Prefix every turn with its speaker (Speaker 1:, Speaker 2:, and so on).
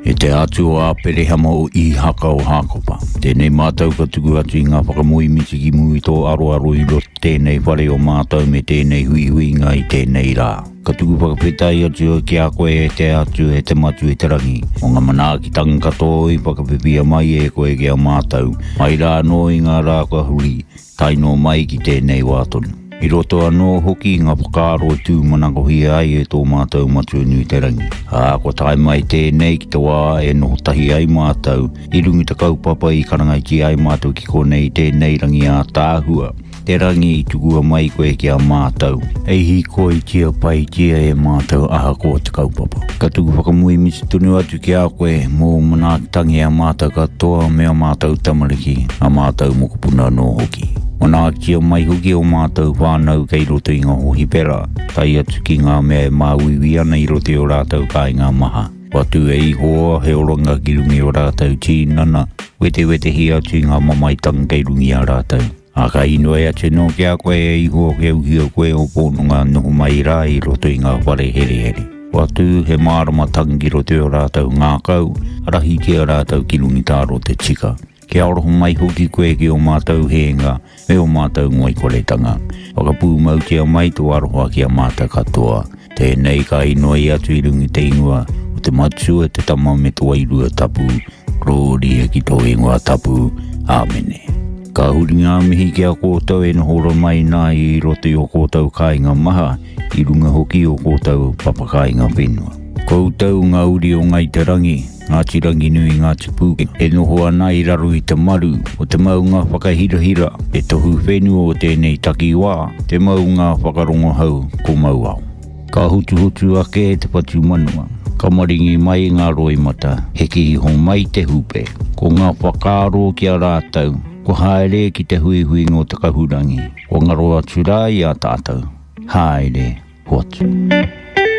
Speaker 1: E te Atua o Āperehama, o Īhaka, o Hākopa, tēnei mātou ka tuku atu i ngā whakamoemiti ki mua i tō aroaro i roto tēnei whare o mātou me tēnei huihuinga i tēnei rā. Ka tuku whakawhetai atu au ki a koe e te Atua, e te Matua i te rangi, mō ngā manaakitanga katoa i whakawhiwhia mai e koe ki a mātou, mai rā anō i ngā rā kua huri, tae noa mai ki tēnei wā tonu. I roto anō hoki i ngā whakaaro e tūmanakohia ai e tō mātou Matua nui te rangi. Ā, kua tae mai tēnei ki te wā e noho tahi ai mātou i runga i te kaupapa i karangaitia ai mātou ki konei i tēnei rangi ātaahua, te rangi i tukua mai koe ki a mātou, hei hīkoitia paitia e mātou ahakoa te kaupapa. Ka tuku whakamoemiti tonu atu ki a koe mō ō manaakitanga i a mātou katoa me ā mātou tamariki, ā mātou mokopuna anō hoki. Manaakitia mai hoki ō mātou whānau kei roto i ngā hōhipera, tae atu ki ngā mea e māuiui ana i roto i ō rātou kāinga maha. Whatu e Ihowa he oranga ki runga i ō rātou tīnana, wetewetehia atu i ngā mamaetanga kei runga i a rātou. Ā, ka inoi atu anō ki a koe e Ihowa kia uhia koe ō pononga noho mai rā i roto i ngā whare herehere. Whatu he māramatanga ki roto i ō rātou ngākau, arahitia rātou ki runga i tā rote tika. Kia aroha mai hoki koe ki ō mātou hēnga me ō mātou ngoikoretanga. Whakapūmautia mai tō aroha ki a mātou katoa. Tēnei ka inoi atu i runga i te ingoa o te Matua, te Tama me te Wairua Tapu. Rōria ki tō ingoa tapu. Āmene. Ka huri ngā mihi ki a koutou e noho ora mai nā i roto i ō koutou kāinga maha, i runga hoki i ō koutou papakāinga whenua. Koutou ngā uri o Ngāi Te Rangi, Ngāti Ranginui, Ngāti Pūkenga, e noho ana i raro i te maru o te maunga whakahirahira, te tohu whenua o tēnei takiwā, te maunga whakarongohau ko Mauao. Ka hutuhutu ake te whatumanawa, ka maringi mai ngā roimata, heke iho mai te hupe. Ko ngā whakaaro ki a rātou, kua haere ki te huihuinga o te kahurangi, kua ngaro atu rā i a tātou. Haere, hoatu.